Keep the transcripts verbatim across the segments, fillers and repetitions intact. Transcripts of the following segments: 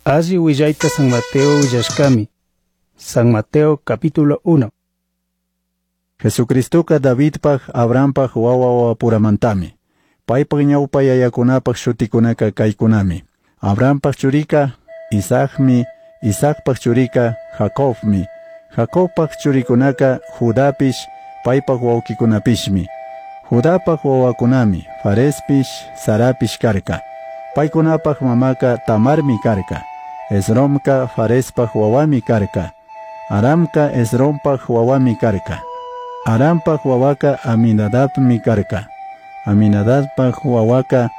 Alli willayta San Mateo willashkami. San Mateo capítulo uno. Jesucristoka Davidpaj, Abrahampaj wawa wawapuramantami. Paypaj ñawpa yayakunapaj shutikunaka kaykunami. Abrahampaj churika Isaacmi, Isaacpaj churika Jacobmi. Jacobpaj churikunaka Judapish, paypaj wawkikunapishmi. Judapaj wawakunami Farespish, Zarapish karka. Paykunapaj mamaka Tamarmi karka. Esromka Farespaj wawami karka. Aramka Esrompaj wawami karka. Arampaj wawaka Aminadabmi karka. Aminadabpaj wawaka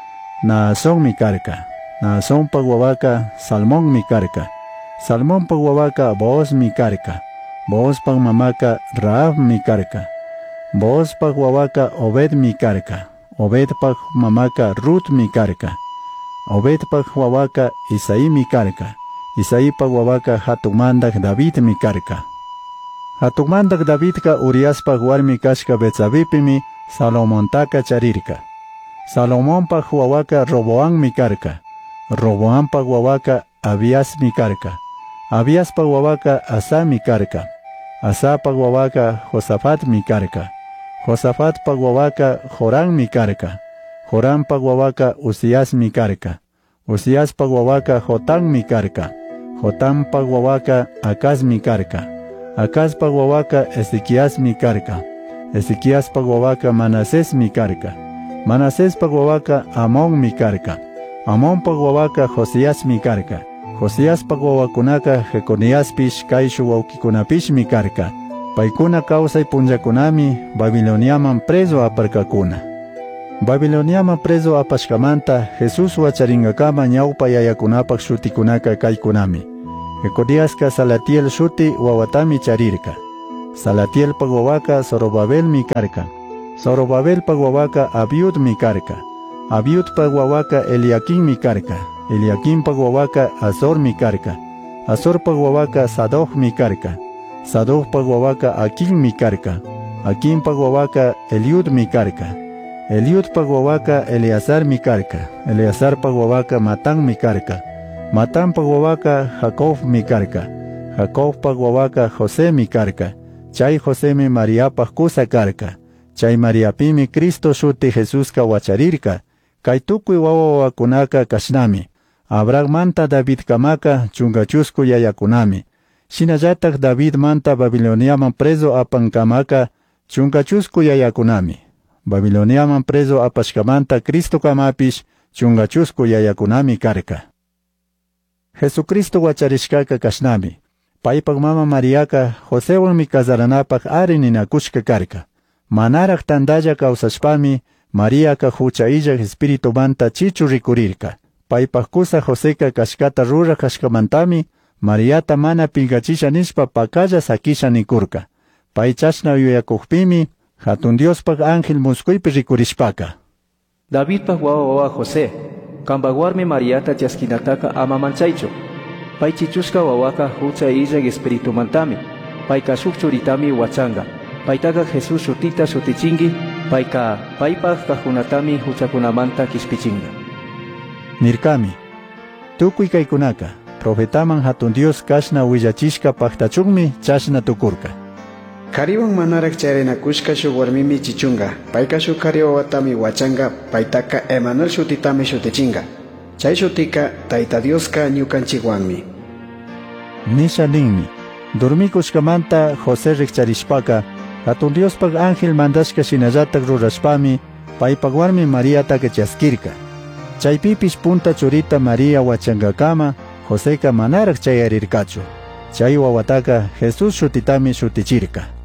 Naasonmi karka. Naasonpaj wawaka Salmonmi karka. Salmonpaj wawaka Boozmi karka. Boozpaj mamaka Rahabmi karka. Boozpaj wawaka Obedmi karka. Obedpaj mamaka Rutmi karka. Obedpaj wawaka Isaimi karka. Isaipaj wawaka hatun mandaj Davidmi karka. Hatun mandaj Davidka Uriaspaj warmi kashka Betsabipimi Salomontaka charirka. Salomonpaj wawaka Roboammi karka. Roboampaj wawaka Abiasmi karka. Abiaspaj wawaka Asami karka. Asapaj wawaka Josafatmi karka. Josafatpaj wawaka Jorammi karka. Jorampaj wawaka Uziasmi karka. Uziaspaj wawaka Jotammi karka. Jotampaj wawaka Acazmi karka. Acazpaj wawaka Ezequiasmi karka. Ezequiaspaj wawaka Manasesmi karka. Manasespaj wawaka Amonmi karka. Amonpaj wawaka Josiasmi karka. Josiaspaj wawakunaka Jeconiaspish kayshu wawkikunapishmi karka. Paykuna kawsay punllakunami Babiloniaman preso aparkakuna. Babiloniaman preso apashkamanta Jesús wacharingakama ñawpa yayakunapaj shutikunaka kaykunami. Jeconiaska Salatiel shuti wawatami charirka. Salatielpaj wawaka Zorobabelmi karka. Zorobabelpaj wawaka Abiudmi karka. Abiudpaj wawaka Eliaquimmi karka. Eliaquimpaj wawaka Azormi karka. Azorpaj wawaka Sadocmi karka. Sadocpaj wawaka Aquimmi karka. Aquimpaj wawaka Eliudmi karka. Eliudpaj wawaka Eleazarmi karka. Eleazarpaj wawaka Matanmi karka. Matanpaj wawaka Jacobmi karka. Jacobpaj wawaka Josemi karka. Chay Josemi Mariapaj kusa karka. Chay Mariapimi Cristo shuti Jesuska wacharirka. Kay tukuy wawa wawakunaka kashnami. Abrahammanta Davidkamaka chunka chusku yayakunami. Shinallataj Davidmanta Babiloniaman preso apankamaka chunka chusku yayakunami. Babiloniaman preso apashkamanta Cristokamapish chunka chusku yayakunami karka. Jesucristo wacharishkaka kashnami. Paypaj mama Mariaka Josewanmi kazaranapaj ari ninakushka karka. Manaraj tandalla kawsashpami Mariaka hucha illaj espiritumanta chichu rikurirka. Paypaj kusa Joseka kashkata ruraj kashkamantami Mariata mana pinkachisha nishpa pakalla sakisha nikurka. Pay chashna yuyakukpimi hatun Diospaj ángel muskuypi rikurishpaka. Davidpaj wawa wawa José, kanpaj warmi Mariata chaskinataka ama manchaychu. Pay chichushka wawaka hucha illaj espiritumantami. Payka shuk churitami wachanga. Paytaka Jesús shutita shutichinki, payka paypaj kajkunatami huchakunamanta kishpichinga. Nirkami. Tukuy kaykunaka profetaman hatun Dios kashna willachishka paktachunmi chashna tukurka. Kariwan manaraj charinakushka shuk warmimi chichunga. Payka shuk kari wawatami wachanga, paytaka Emanuel shutitami shutichinga. Chay shutika Tayta Dioska ñukanchikwanmi. Nisha ninmi. Dormikushkamanta José rikcharishpaka hatun Diospaj ángel mandashka shinallatak rurashpami paypaj warmi Mariataka chaskirka. Chaypipish punta churita María wachankakama Joseka manaraj chayarirkachu. Chay wawataka Jesús shutitami shutichirka.